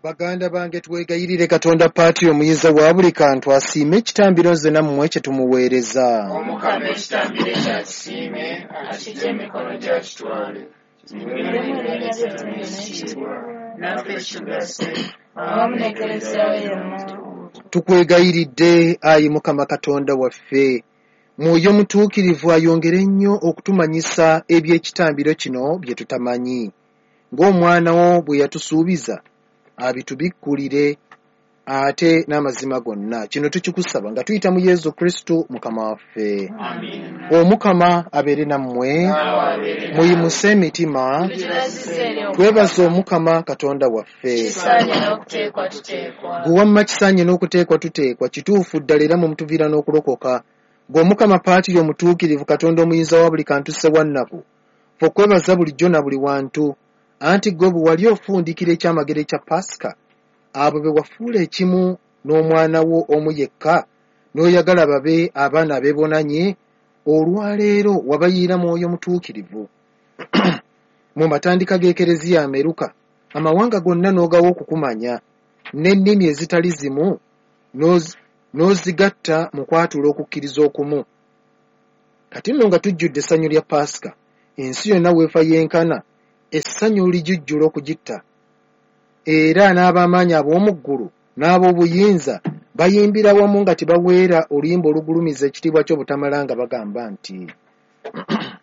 Baganda bange, twegayirire Katonda Paatiri omuyinza wa buli kantu asiime ekitambiro nze nammwe kye tumuweereza. Omukama ekitambiro ekyo akisiime, akiggye mu mikono gye akitwale, kimuweebwe ettendo n'ekitiibwa, naffe kitugase, awamu n'Ekleziya ye yonna. Tukwegayiridde, ayi Mukama Katonda waffe, Mwoyo Mutuukirivu ayongere nnyo okutumanyisa eby'ekitambiro kino bye tutamanyi, ng'Omwana wo bwe yatusuubiza abitubikkulire ate n'amazima gonna. Kino tukikusaba nga tuyita mu Yesu Kristu Mukama waffe. Amiina. Omukama abeere nammwe, Naawe abeere naawe. muyimuse emitima, Tukibazizza eri Omukama. twebaze Omukama Katonda waffe. Kisaanye n'okuteekwa tuteekwa. Gwe wamma kisaanye n'okuteekwa tuteekwa, kituufu ddala era mwe mutuviira n'okulokoka. Gwe Omukama Paatiri omutuukirivu, Katonda omuyinza wa buli kantu Ssewannaku, ffe okwebaza bulijjo na buli wantu, anti ggwe bwe wali ofundikira ekyamagero ekya Pasika, abo be wafuula ekimu n'omwana wo omu yekka, n'oyagala babe abaana abeebonanye, olwaleero wabayiira Mwoyo Mutuukirivu. Mu matandika g'Ekereziya ameruka, amawanga gonna n'ogawa okukumanya, n'ennimi ezitali zimu n'ozigatta mu kwatula okukkiriza okumu. Kati nno nga tujjudde essanyu lya Pasika, ensi yonna weefa yenkana, essanyu lijujjula okugitta. Era n'ab'amaanyi ab'omu ggulu n'ab'obuyinza bayimbira wamu nga tebaweera oluyimba olugulumiza ekitiibwa ky'obutamala nga bagamba nti.